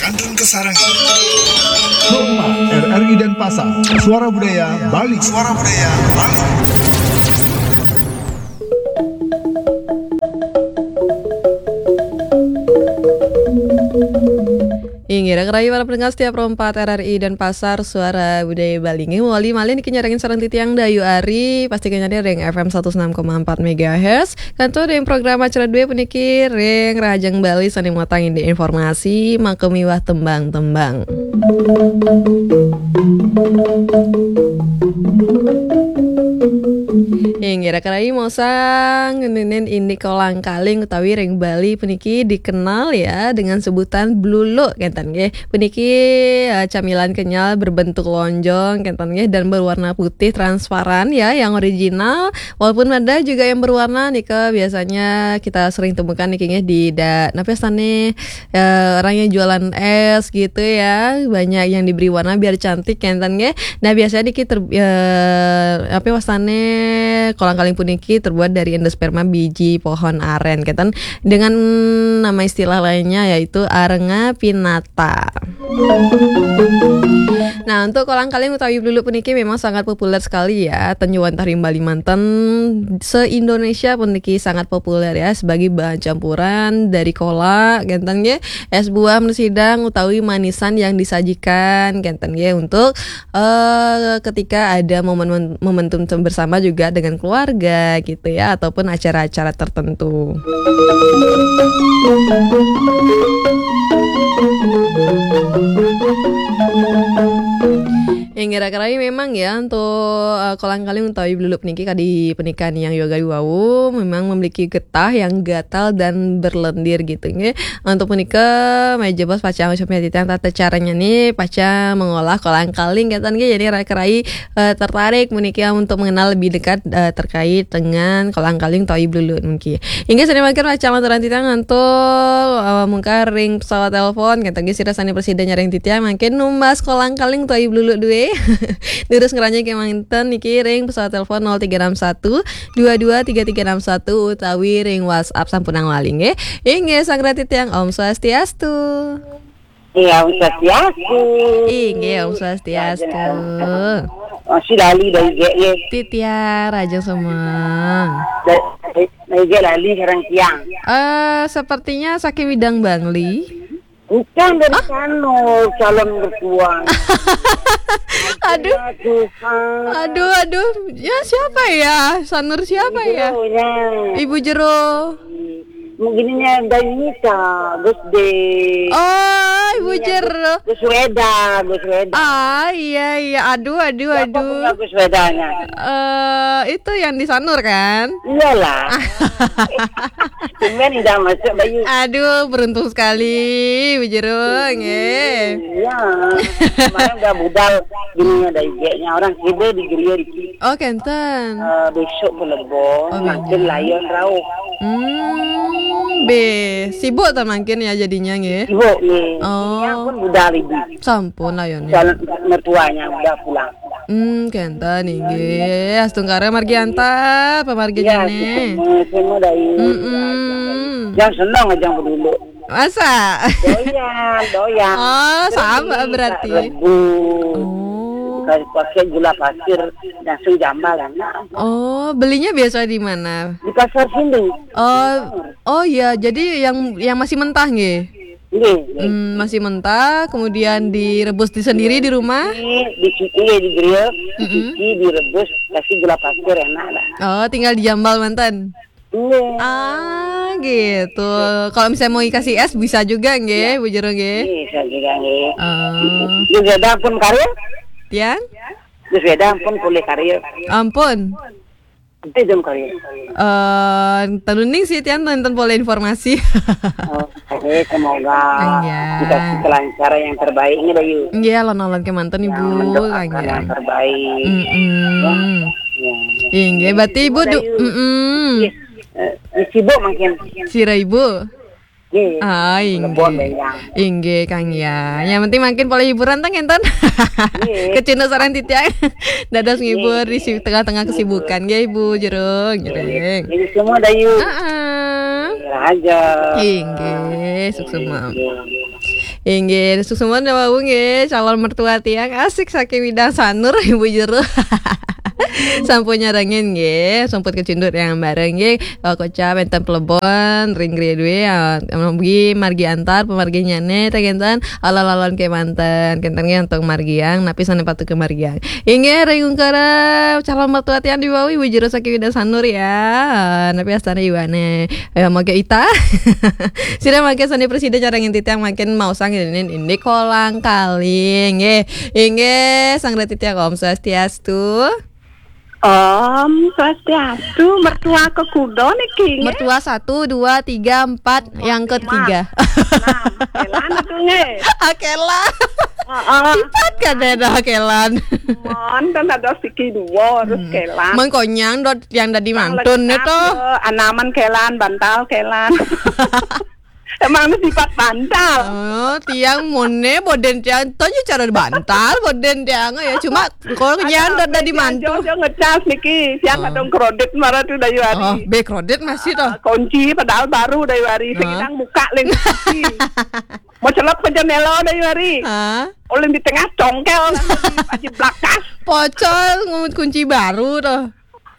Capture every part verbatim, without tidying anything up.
Turun ke sarang. Pro empat, R R I Denpasar, Suara Budaya Bali. Suara Budaya Bali. Inggih, raka rahayu para pendengar setia Pro empat R R I Denpasar, Suara Budaya Bali. Inggih, mawali malih niki nyarengin sareng titiang Dayu Ari, pasti kanyadi ring F M satus enam koma empat megahertz. Kantun ring program acara dué puniki ring Rahajeng Bali sané muatang indik informasi maka miwah tembang-tembang. Inggih, raka rahayu maosang ngeninin indik kolang-kaling utawi ring Bali puniki dikenal ya dengan sebutan bluluk, kénten nggih. Puniki, eh, camilan kenyal berbentuk lonjong, kénten nggih, dan berwarna putih transparan ya, yang original. Walaupun ada juga yang berwarna nika, biasanya kita sering temukan niki nggih di da-, napa wastané, eh, orang yang jualan es gitu ya, banyak yang diberi warna biar cantik, kénten nggih. Nah, biasanya niki ter-, eh, apa wastané, kolang-kaling puniki terbuat dari endosperma biji pohon aren, kénten, dengan nama istilah lainnya yaitu arenga pinata. Nah, untuk kolang-kaling utawi bluluk puniki memang sangat populer sekali ya, ten wantah ring Bali manten, se-Indonesia puniki sangat populer ya sebagai bahan campuran dari kolak, kénten nggih, es buah mesidang utawi manisan yang disajikan, kénten nggih, untuk, eh, ketika ada momen, momentum bersama juga dengan keluarga gitu ya, ataupun acara-acara tertentu. Inggih, raka rahayu memang ya, untuk, eh, kolang-kaling utawi bluluk niki kadi punika Ni Yoga wau memang memiliki getah yang gatal dan berlendir gitu nggih. Untuk punika, malih jebos pacang ucapin titiang tata caranya nih, pacang mengolah kolang-kaling, kénten nggih. Jadi raka rahayu, eh, tertarik puniki untuk mengenal lebih dekat, eh, terkait dengan kolang-kaling utawi bluluk niki. Inggih, sané mangkin pacang lanturang titiang antuk, eh, mungkar ring pesawat telepon, kénten nggih, sira sané prasida nyarengin titiang mangkin numbas kolang-kaling utawi bluluk dué. Durus ngranjing kémanten niki ring pesawat telepon nol tiga enam satu dua dua tiga tiga enam satu utawi ring WhatsApp sampunang lali nggih. Inggih, sareng titiang Om Swastiastu. Iya, Om Swastiastu. Inggih, Om Swastiastu. Masih lali dari G Y. Titiang rahajeng semeng. Dari, dari G Y lali sareng tiang. Eh, sepertinya saking Widang Bangli. Bukan dari sana, calon mertua. Aduh. Ya Tuhan. Aduh, aduh. Ya, siapa ya? Sanur siapa ya? Ibu Jero. Ibu Jero. Mungkin ini ada Yunita, Gus De. Oh, Ibu Jero. Gus Weda, Gus Weda. Ah, iya, iya. Aduh, aduh, siapa aduh. Punya Gus Wedanya? Eh, itu yang di Sanur kan? Iyalah. Tumben udah masuk, Bayu. Aduh, beruntung sekali, Ibu Jero, nggih. Iya. Kemarin udah budal, bininya ada igenya, orang Kidul di Geria di. Oh, kénten. Eh, besok ke Lebong, oh, mangkin beda. Layon rauh. Hmm, be, sibuk ta mangkin ya jadinya nggih? Sibuk nggih. Oh. Ini pun budal ibu. Sampun layonnya. Calon mertuanya udah pulang. Hmm, kénten inggih. Astungkara margi antar, pamargi. Iya, jane. Semua, semua dari. Mm-mm. Yang senang aja dulu. Masa? Doyan, doyan. Oh, sama berarti. Rebu. Oh. Kasih pakai gula pasir, langsung jambal, enak. Oh, belinya biasa di mana? Di pasar sini. Oh, oh ya, jadi yang, yang masih mentah nggih? Nggih, nggih. Hmm, masih mentah, kemudian direbus di sendiri di rumah? Dicuci, dicuci, digrill, mm-mm, dicuci, direbus, kasih gula pasir, enak lah. Oh, tinggal dijambal manten? Iya. Ah, gitu. Kalau misalnya mau dikasih es bisa juga nggih, iya. Bu Jero nggih? Bisa juga nggih. Oh. Terus ada pun karya? Tiang? Terus ada pun boleh karya. Ampun. Itu jam karya. Eh, tenuning sih tiang nonton boleh informasi. Oh, oke, semoga, iya, dikasih kelancaran yang terbaik ini, Bayu. Iya, alon-alon kémanten, Ibu. Yang mendoakan yang terbaik. Mm-mm. Ya. Inggih, berarti Ibu du-, mm-mm. Iya. Eh, sibuk mungkin. Sira Ibu? Nggih. Ah, inggih. Lebon, Bang. Inggih, Kang, ya. Yang penting mungkin pola hiburan tang enten. Nggih. Kecunduk sareng titiang. Dados ngibur di si-, tengah-tengah kesibukan, nggih, Ibu Jero, ngiring. Ini semua Dayu. Heeh. Raja. Inggih, suksma. Inggih. Inggih, suksma wau nggih, calon mertua tiang asik saking Widang Sanur, Ibu Jero. Sampun nyarengin nggih, sumput kecunduk yang bareng nggih. Kocap enten plebon ring griya duwe, ah, mugi margi antar, pamargi nyane, teng enten alon-alon kemanten, kenten nggih antuk margiang, napi sane patut kamargiang. Inggih, ring ungkara calon mertua tiang diwawi, Ibu Jero saking Widang Sanur ya. Ah, napi astane iwane? Eh, mangke ita. Sira mangke sane prasida nyarengin titiang mangkin maosang ini, ini kolang kaling. Nggih, inggih, sang titiang Om Swastiastu. Om Swastiastu, mertua kekuda niki, nggih? Mertua satu, dua, tiga, empat, yang ketiga. Enam. Kelan atuh, nggih. Akelan. Heeh. Empat kan ada akelan. Mon, kan ada siki dua, terus Hmm. kelan. Mengkonyang dot yang dadi Yang mangtun lengkap, itu. Ya, anaman kelan, bantal kelan. Emang ini sifat bantal. Oh, tiang mone boden tiang, tonyo cara bantal boden tiang ya. Cuma kalau Ada nyan dot dadi meja mantu. Jojo ngecas niki, siang Oh. Kadung kredit marah tuh Dayu Ari. Oh, be kredit masih toh. Ah, kunci padahal baru Dayu Ari. Hah? Sing Widang muka ling kunci. Mau celep ke jendela Dayu Ari. Hah? Oleh di tengah congkel aji blakas. Pocol ngut kunci baru toh.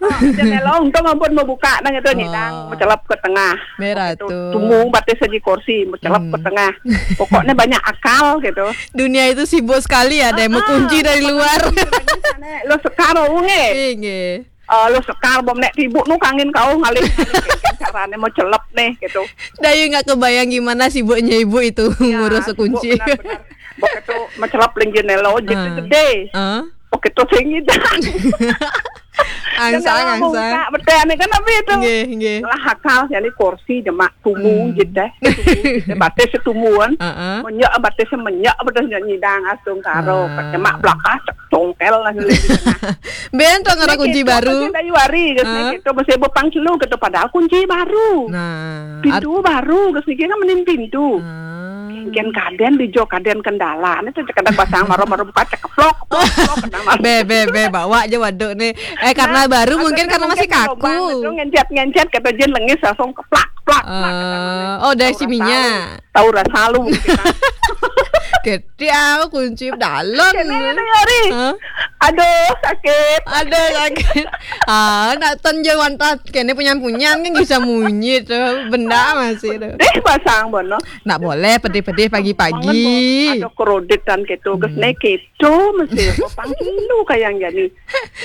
Oh, jendela untung ampun mau buka nang itu nyidang, Oh. Mau celep ke tengah. Merah Itu tuh. Tumu batis aji kursi, mau celep ke Hmm. Tengah. Pokoknya banyak akal gitu. Dunia itu sibuk sekali, ada yang mau Ah, kunci dari luar. Lo sekar, oh, nggih. Nggih. Eh, lo sekar, bom nek tibuk nu kangin kau ngalih. Carane mau celep nih gitu. Dayu nggak kebayang gimana sibuknya ibu itu Ya, ngurus sibuk kunci. Benar-benar. Begitu mau celep ling jendela, oh, jadi Ah. Gede. Ah. Begitu sing nyidang. Angsang, angsang. Buka, betul, ane kan apa itu? Nggih, nggih. Lah akal, jadi kursi jemak tumu Hmm. Jede. Tumu jede, batis setumuan. Heeh. Menyak, batis menyak, betul nyidang asung karo. Ah. Jemak belakang, cek congkel lah. Ben to ngara kunci baru. Dayu Ari, geus Hah? Gitu, mesti bepang celu gitu, padahal kunci baru. Nah, pintu baru, geus niki kan mending pintu. Ah. Ken kaden di jo kaden kendala, ini tuh cekadang pasang maro-maro buka cekeplok, plok, plok, kena maro. Be, be, be, bawa aja waduk nih. Eh, karena Nah, baru mungkin karena masih kaku. Lubang, itu ngencet-ngencet, kata Jen lengis langsung keplak, plak, plak, kata Eh, oh, dari si Minyak. Tahu rasa lu, gitu kan. Gede aku kunci dalam. Kene, kene, Yori. Hah? Aduh, sakit. Aduh, sakit. Ah, nak ton je wantah kene punyan-punyan kan bisa munyi tuh. Benda masih tuh. Deh, pasang bono. Nak boleh pedih-pedih pagi-pagi. Ada kredit dan gitu. Geus Hmm. Naik gitu, mesti. Pang lu kayak gini.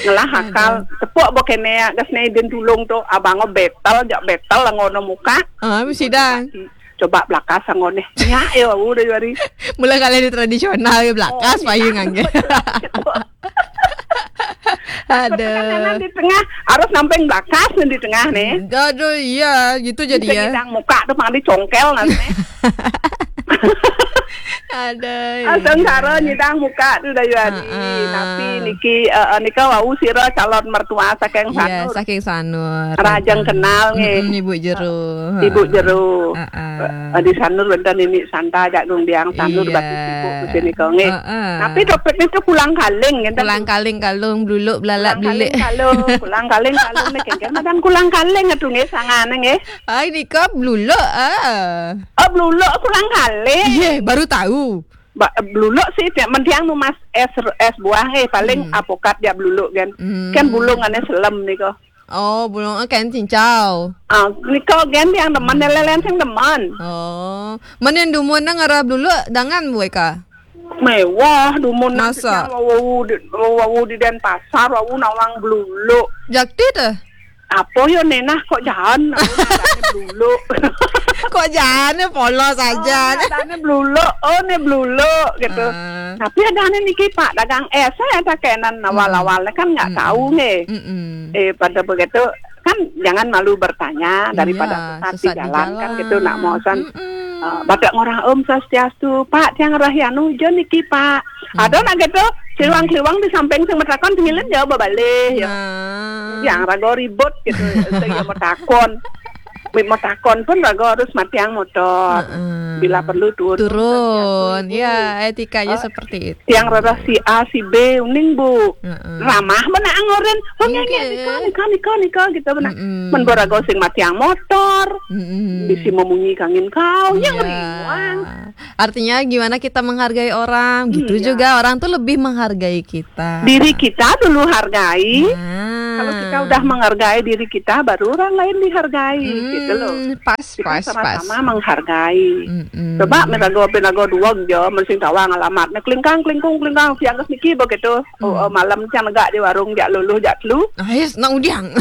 Ngelah akal. Aduh. Tepuk bo kene, geus naik den tulung tuh. Abang betel, jak betel, ngono muka. Ah, mesti dah. Coba blakas sangone. Nya ya udah Yori. Mula kali di tradisional ya blakas. Oh, payung iya. Angge. Aduh. Kanan di tengah, harus namping blakas nih di tengah nih. Aduh, iya, gitu jadi. Bisa ya. Nyidang muka tuh pang dicongkel nanti. Aduh. Asal iya. Karo nyidang muka tuh Dayu Ari. Heeh. Tapi niki eh, eh, nika wau sira calon mertua saking Sanur. Iya, saking Sanur. Rajang kenal nggih. Mm-mm, Ibu Jero. Ibu Jero. Heeh. Eh, di Sanur wonten Nini Santa, Jak Gung Diang Sanur. Iya. Batis Ibu di sini kok nggih. Heeh. Tapi topik itu kulang kaling ngenten. Kulang kaling kalung, bluluk, belalak, kulang kaling bilik. Kalung, kulang kaling kalung nih kengken madan kulang kaling atuh nggih sangane nggih. Ai nika bluluk, ah. Oh, bluluk kulang kaling. Iya, baru tahu. Ba-, bluluk sih tiap mentiang nu mas es, es buah nggih paling Hmm. Apokat ya bluluk kan. Hmm. Kan bulung ane selem nika. Oh, bulung, eh, kan cincau. Ah, nika gen yang demen lelen sing demen. Oh, men yang dumun nang arah bluluk dangan buai ka? Mewah dumun nang. Masa? Wau di, wau di Denpasar, wau nawang bluluk. Jakti teh? Apa yo nenah kok jahan? Aku nadane bluluk. Kok jahane polos aja. Oh, nadane bluluk. Oh, ne bluluk gitu. Ah. Tapi ada ane niki Pak dagang es, saya ada kenan awal-awalnya kan nggak tahu nggih. Mm-mm. Eh, pada begitu kan jangan malu bertanya daripada iya, sesat di jalan kan gitu nak mosan. Mm-mm. Eh, badak ngorang Om Swastiastu, Pak tiang rahyanu jo niki Pak. Hmm. Ada nak gitu, kliwang-kliwang di samping sing metakon sing ngilen jawab balik ya. Nah. Yang rago ribut gitu, sing yang metakon. Metakon pun rago harus matiang motor. Heeh. Bila perlu turun. Turun, ya, etikanya seperti itu. Yang rada si A, si B, uning, Bu. Heeh. Ramah mana angoren. Oh, nggih, nggih, nggih. Nika, nika, nika, nika, gitu, benar. Mm-mm. Men baraga sing matiang motor. Mm-mm. Bisi memunyi kangin kau, yang riwang. Artinya gimana kita menghargai orang, gitu. Iya. Juga orang tuh lebih menghargai kita. Diri kita dulu hargai. Nah. Kalau kita udah menghargai diri kita, baru orang lain dihargai, gitu loh. Hmm, pas, pas, pas. Kita sama-sama menghargai. Mm-mm. Coba mirago pinago dua jo, mensing tawang alamat. Nah, klingkang, klingkung, klingkang, siang ke niki begitu. Oh, hmm, oh, malam cang negak di warung, jak luluh, jak telu. Ah, yes, nak udiang.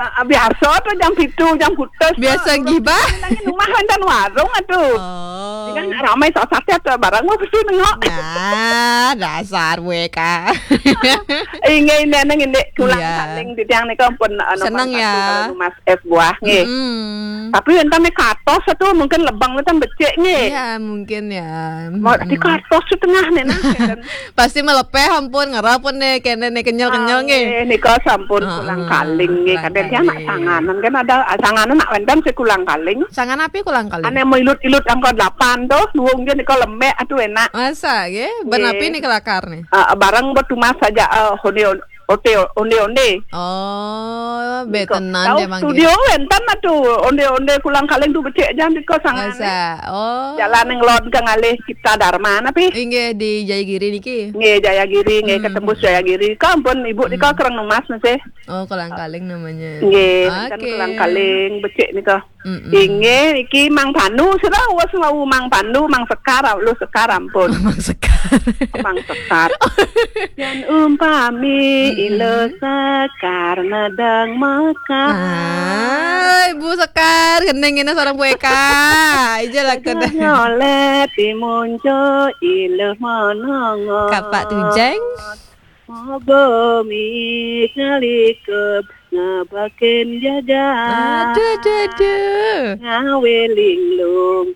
Ah, ah, biasa tu jam pitu, jam putus. Biasa tu, gibah. Nangin rumah wénten warung atuh. Oh. Kan ramai saat-saat tu barang mau mesti nengok. Nah, dasar wéka. Inggih, inggih, nang indik kulang, iya, kaling titiang nika pun, anu, seneng ya. Kalau Mas es buah nggih. Mm-mm. Tapi wénten nika atos tu mungkin lebang wénten becik nggih. Iya, mungkin ya. Mau di atos setengah nih nah. Pasti melepeh ampun, ngerap pun deh, kene nih kenyal-kenyal nggih. Ah, nggih, nika sampun, heeh, kulang kaling nggih. Kulang kaling. Kadang dia nak sanganan kan ada, ah, sanganan nak wénten sing kulang kaling. Sangan apa kulang kaling? Ane mau ilut-ilut angka delapan tuh, duung dia nika lemek, aduh enak. Masa nggih? Nggih. Ben apa nih kelakar nih? Ah, barang buat tumas saja, ah, honde, onde, onde-onde. Oh, nika. Betenan tahu dia manggil. Studio wénten atuh, onde-onde kulang kaling tuh becik aja nika sangan. Masa? Oh. Jalan yang lon ke ngalih Cipta Dharma napi? Inggih di Jayagiri niki. Nggih, Jayagiri, nggih, hmm, ketembus Jayagiri. Ka ampun, Ibu nika, hmm, kereng numas masih. Oh, kolang kaling namanya. Nggih, kan, oke, kolang kaling becik nika. Mm-mm. Inggih, iki Mang Panu, sudah wes wau Mang Panu, Mang Sekar, lu Sekar ampun. Mang Sekar. Mang Sekar. Yen umpami, mm-mm, ila Sekar nedeng mekar. Ah, Ibu Sekar, gending ini seorang Bu Eka. Ija lah kena. Nyolet di munco ila menongo. Kapak tujeng. Moga mi kalikup ngabakin jagat. Aduh, aduh, aduh. Ngawe linglung.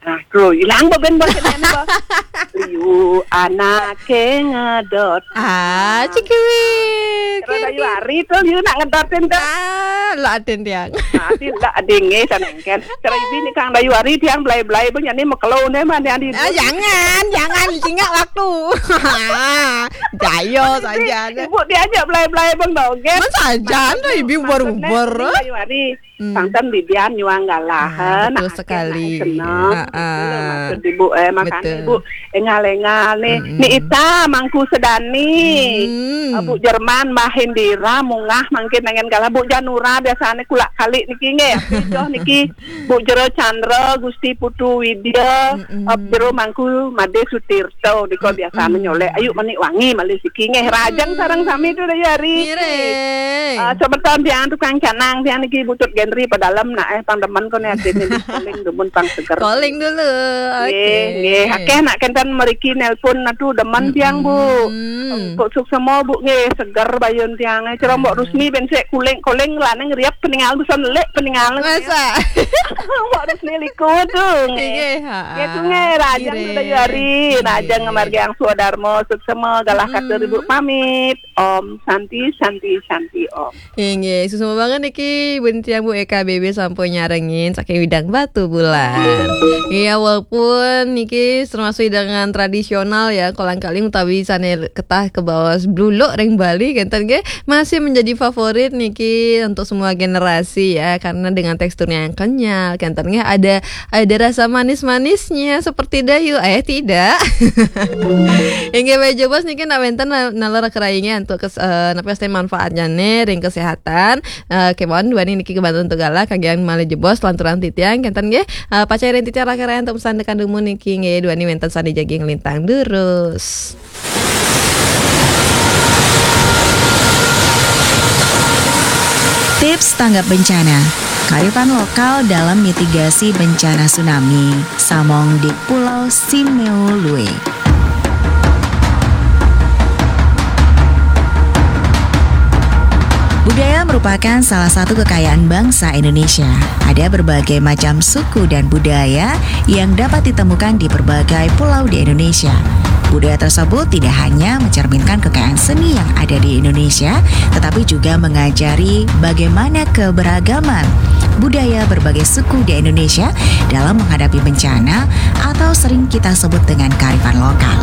Aduh, ilang beben bos ini, bos. Liu anake ngedot. Ah, cikiwik. Kira Dayu Ari tuh, liu nak ngedotin tuh. Ah, lo aden tiang. Nanti ndak adinge sanengken. Kira ibi nih Kang Dayu Ari tiang belai-belai bang, yani mekelo nih mah, yani. Ah, jangan, jangan, singkat waktu. Jayo saja. Ibu diajak belai-belai bang dogen. Masa aja, anda ibi ubar-ubar. Kang Dayu Ari. Hmm. Santen bibian nyuang galah. Ah, betul sekali. Seneng. Ah, ah. Betul, maksud Ibu, eh, makanya betul. Ibu engal-engal nih. Mm-mm. Ni Ita, Mangku Sedani, hmm, eh, Bu Jerman, Mbah Hendira, Mungah, mangkin nengen galah, Bu Janura, biasanya kulak kali niki nggih, Joh niki, Bu Jero Chandra, Gusti Putu Widya, mm-mm, eh, Jero Mangku Made Sutirto, niko biasa, mm-mm, menyolek. Ayu menik wangi malih siki nggih, rajeng, mm, sareng sami tu Dayu Ari. Ngiring. Ah, semeton tiang tukang canang, tiang niki butut Genri pedalem nak, eh, pang demen kone asin ini, koling dumun pang seger. Koling dulu. Nggih, oke. Nggih, akeh nak kenten meriki nelpon, aduh demen tiang, Bu. Mm-mm. Kok suksema, Bu, nggih, seger bayun tiang. Eh, cerombok, mm-mm, Rusmi ben sik kuling-kuling lanang riap peningal bisa nelik peningal. Masa? Mbok Rusmi liku tu nggih. Nggih, ha. Nggih, tu nggih, rajeng, ngiring, Dayu Ari, rajeng, nggih, margi angsu darma suksema galah, mm-mm, katur Ibu pamit. Om Santi, Santi, Santi, Om. Inggih, suksma banget niki, bun tiang Bu Eka B B sampun nyarengin saking Widang Batubulan. Iya, walaupun niki termasuk hidangan tradisional ya, kolang kaling utawi sane ketah kebaos bluluk ring Bali, kenten nggih, masih menjadi favorit niki untuk semua generasi ya, karena dengan teksturnya yang kenyal, kenten nggih, ada ada rasa manis-manisnya seperti dayu. Eh, tidak. Inggih, bae jebos niki nak wenten na-, nalar kerai nggih untuk kes-, eh, napa sih manfaatnya nih ring kesehatan. Eh, kemawon duani niki kebantu untuk galah kangge malih jebos lanturan titiang kenten nggih. Eh, pacai ring titiang rakan untuk pesan tekan dumun niki nggih, duani wenten sandi jagi ngelintang durus. Tips tanggap bencana. Kearifan lokal dalam mitigasi bencana tsunami. Samong di Pulau Simeulue. Budaya merupakan salah satu kekayaan bangsa Indonesia. Ada berbagai macam suku dan budaya yang dapat ditemukan di berbagai pulau di Indonesia. Budaya tersebut tidak hanya mencerminkan kekayaan seni yang ada di Indonesia, tetapi juga mengajari bagaimana keberagaman budaya berbagai suku di Indonesia dalam menghadapi bencana atau sering kita sebut dengan kearifan lokal.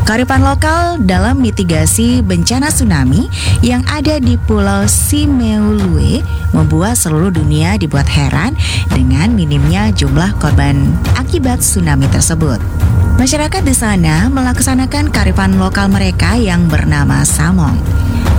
Kearifan lokal dalam mitigasi bencana tsunami yang ada di Pulau Simeulue membuat seluruh dunia dibuat heran dengan minimnya jumlah korban akibat tsunami tersebut. Masyarakat di sana melaksanakan kearifan lokal mereka yang bernama Samong.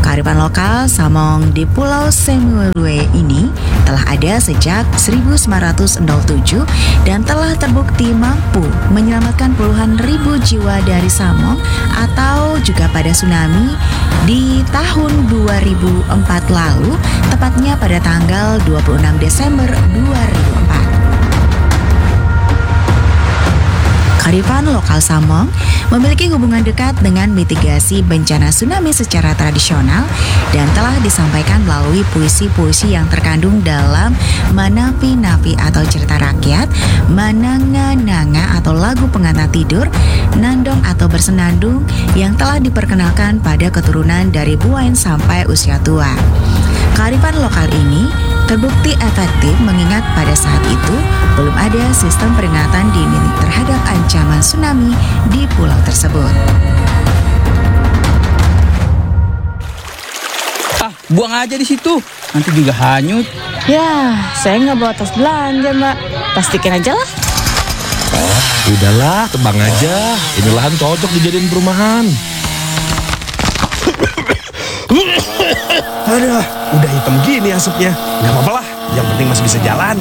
Kearifan lokal Samong di Pulau Semeru ini telah ada sejak seribu sembilan ratus tujuh dan telah terbukti mampu menyelamatkan puluhan ribu jiwa dari Samong atau juga pada tsunami di tahun dua ribu empat lalu, tepatnya pada tanggal dua puluh enam Desember dua ribu empat. Kearifan lokal Samong memiliki hubungan dekat dengan mitigasi bencana tsunami secara tradisional dan telah disampaikan melalui puisi-puisi yang terkandung dalam Manapi-Napi atau cerita rakyat, Mananga-Nanga atau lagu pengantar tidur, Nandong atau bersenandung yang telah diperkenalkan pada keturunan dari Buain sampai usia tua. Kearifan lokal ini terbukti efektif mengingat pada saat itu belum ada sistem peringatan dini terhadap ancaman tsunami di pulau tersebut. Ah, buang aja di situ. Nanti juga hanyut. Ya, saya nggak bawa tas belanja, Mbak. Plastikin aja lah. Udahlah, tebang aja. Ini lahan cocok dijadiin perumahan. Aduh, udah hitam gini asapnya. Nggak apa-apa lah, yang penting masih bisa jalan.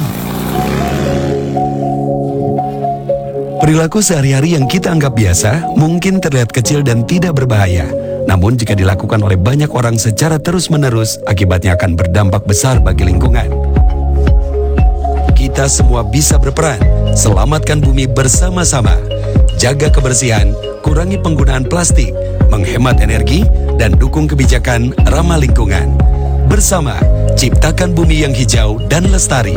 Perilaku sehari-hari yang kita anggap biasa mungkin terlihat kecil dan tidak berbahaya. Namun jika dilakukan oleh banyak orang secara terus-menerus, akibatnya akan berdampak besar bagi lingkungan. Kita semua bisa berperan. Selamatkan bumi bersama-sama. Jaga kebersihan, kurangi penggunaan plastik, menghemat energi, dan dukung kebijakan ramah lingkungan. Bersama, ciptakan bumi yang hijau dan lestari.